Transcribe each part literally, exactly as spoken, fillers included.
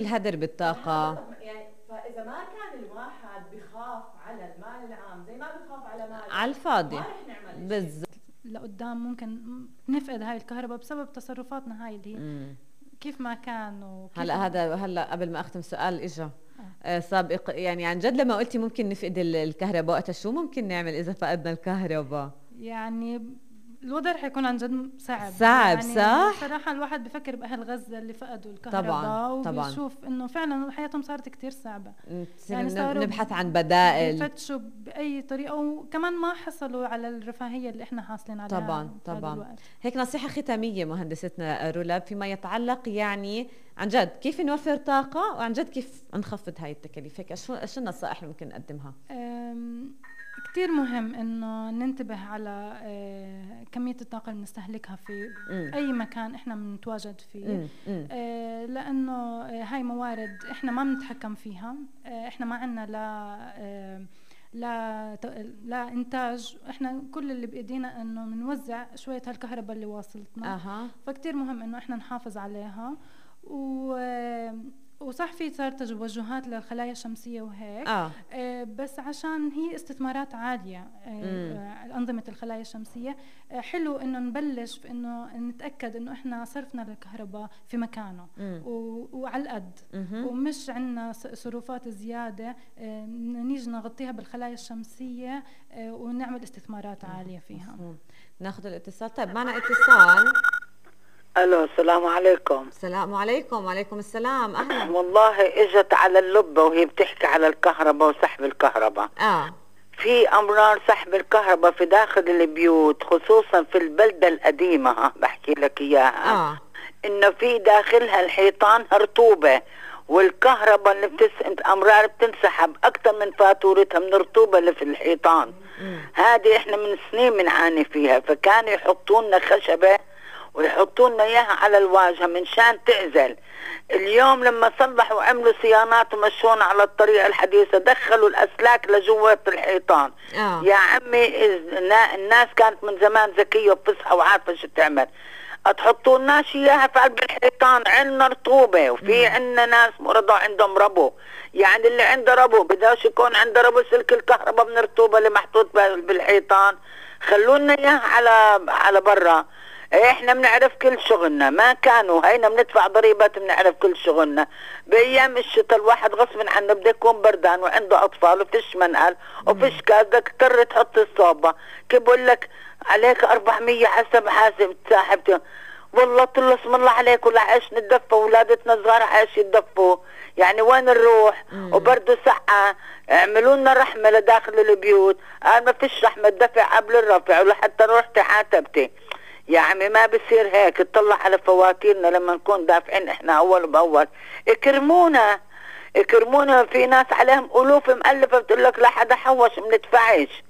الهدر بالطاقة. يعني فإذا ما كان الواحد بخاف على المال العام زي ما بخاف على مال على الفاضي ما رح نعمل بالضبط. لقدام ممكن نفقد هاي الكهرباء بسبب تصرفاتنا هاي اللي هي مم. كيف ما كان. وكيف هلا هذا هلا قبل ما اختم سؤال اجى آه. سابق، يعني عن جد لما قلتي ممكن نفقد الكهرباء، وقتها شو ممكن نعمل اذا فقدنا الكهرباء؟ يعني الوضع رح يكون عن جد صعب صعب يعني صح؟ صراحة الواحد بفكر بأهل غزة اللي فقدوا الكهرباء طبعا وبيشوف طبعا انه فعلا حياتهم صارت كتير صعبة، يعني صاروا نبحث عن بدائل، يفتشوا بأي طريقة، وكمان ما حصلوا على الرفاهية اللي احنا حاصلين عليها. طبعا طبعا. هيك نصيحة ختامية مهندستنا رولاب فيما يتعلق يعني عن جد كيف نوفر طاقة وعن جد كيف نخفض هاي التكاليف، هيك شو شو النصائح اللي ممكن نقدمها؟ كتير مهم انه ننتبه على آه كمية الطاقة اللي بنستهلكها في م. اي مكان احنا بنتواجد فيه، م. م. آه لانه آه هاي موارد احنا ما بنتحكم فيها، آه احنا ما عنا لا آه لا لا انتاج، احنا كل اللي بايدينا انه بنوزع شوية هالكهرباء اللي واصلتنا. أه. فكتير مهم انه احنا نحافظ عليها. و آه وصح في صار توجهات للخلايا الشمسية وهيك آه. آه بس عشان هي استثمارات عالية آه أنظمة الخلايا الشمسية، آه حلو إنه نبلش في إنه نتأكد إنه إحنا صرفنا للكهرباء في مكانه وعلى القد، ومش عنا صروفات زيادة آه نيجي نغطيها بالخلايا الشمسية آه ونعمل استثمارات عالية فيها. ناخذ الاتصال. طيب معنا اتصال. الو السلام عليكم. السلام عليكم. وعليكم السلام. اهلا. والله اجت على اللبه وهي بتحكي على الكهرباء وسحب الكهرباء. اه في امرار سحب الكهرباء في داخل البيوت خصوصا في البلده القديمه، ها بحكي لك اياها. اه انه في داخلها الحيطان رطوبه، والكهرباء اللي بتس... امرار بتنسحب اكثر من فاتورتها من الرطوبه اللي في الحيطان. هذه احنا من سنين بنعاني فيها، فكانوا يحطوا لنا خشبه ويحطوا لنا اياها على الواجهه من شان تعزل. اليوم لما صلحوا وعملوا صيانات ومشونا على الطريقه الحديثه دخلوا الاسلاك لجوات الحيطان. آه. يا عمي الناس كانت من زمان ذكيه وبتصحى وعارفه شو تعمل، تحطوا لناش اياها في قلب الحيطان. عندنا رطوبه وفي عندنا ناس مرضى عندهم ربو، يعني اللي عنده ربو بداش يكون عنده ربو سلك الكهرباء من الرطوبه اللي محطوط بالحيطان. خلونا اياها على على برا. احنا بنعرف كل شغلنا، ما كانوا هينا بندفع ضريبات بنعرف كل شغلنا. بايام الشتاء الواحد غصب عنه بده يكون بردان وعنده اطفال وفيش منقل وفيش كاز، بدك تضطر تحط الصوبه. كيف بقول لك عليك أربعمية حسب حاسب ساحبته، والله طل اسم الله عليك ولا عايش نتدفى، ولادتنا صغار عايش يتدفوا، يعني وين نروح؟ وبرده سقعه. اعملوا لنا رحمه لداخل البيوت. قال ما فيش رحمه، دفع قبل الرفع ولحتى رحت عاتبتي. يا عمي ما بصير هيك، تطلع على فواتيرنا لما نكون دافعين احنا اول باول. اكرمونا اكرمونا، في ناس عليهم الوف مؤلفه بتقول لك لا حدا حوش ما بندفعش.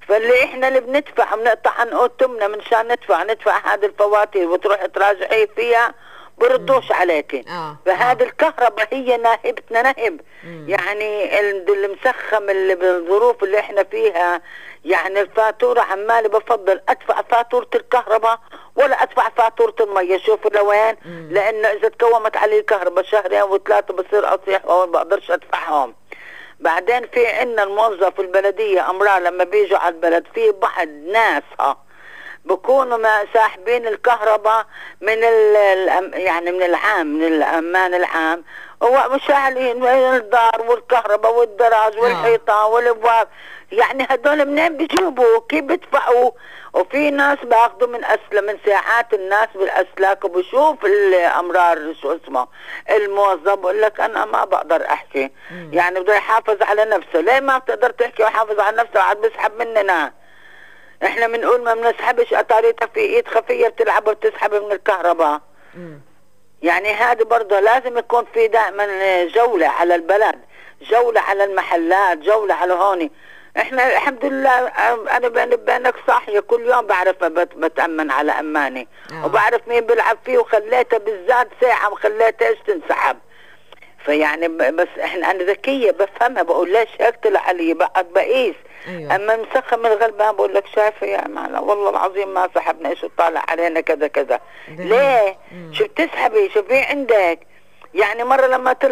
فاللي احنا اللي بندفع بنقطع عن قوتنا من شان ندفع ندفع هذه الفواتير وتروح تراجعي فيها بردوش عليكي. آه. فهذه آه. الكهرباء هي ناهبتنا نهب. مم. يعني المسخم اللي بالظروف اللي احنا فيها، يعني الفاتورة عمالي بفضل ادفع فاتورة الكهرباء ولا ادفع فاتورة المية. شوفوا لوين، لانه اذا تكومت علي الكهرباء شهرين وثلاثة بصير اصيح وما بقدرش ادفعهم. بعدين في عنا الموظف البلدية امرار لما بيجوا على البلد في بعض ناس ها بكونوا ما ساحبين الكهرباء من ال يعني من العام من الأمان العام، ومشاعلين الدار والكهرباء والدراج والحيطان والابواب. يعني هدول منين بيجيبوا؟ كيف بيدفعوا؟ وفي ناس باخذوا من اسلم من ساعات الناس بالاسلاك، وبشوف الامرار شو اسمه الموظف بقول لك انا ما بقدر احكي. مم. يعني بده يحافظ على نفسه. ليه ما بتقدر تحكي ويحافظ على نفسه وعاد بيسحب مننا؟ احنا بنقول ما بنسحبش، اتاريتها في ايد خفيه بتلعب وبتسحب من الكهرباء. مم. يعني هذا برضه لازم يكون في دائما جوله على البلد، جوله على المحلات، جوله على هون. احنا الحمد لله انا بيني وبينك صاحيه كل يوم بعرف بتامن على اماني. آه. وبعرف مين بيلعب فيه، وخليتها بالذات ساعه وخليتها ايش تنسحب. فيعني بس احنا انا ذكيه بفهمها، بقول ليش هيك طلع علي بقعد بقيس. أيوة. اما مسخم الغلبان بقول لك شايفه يا معنا والله العظيم ما سحبنا، ايش طالع علينا كذا كذا. ليه؟ مم. شو بتسحبي؟ شو في عندك؟ يعني مرة لما طلع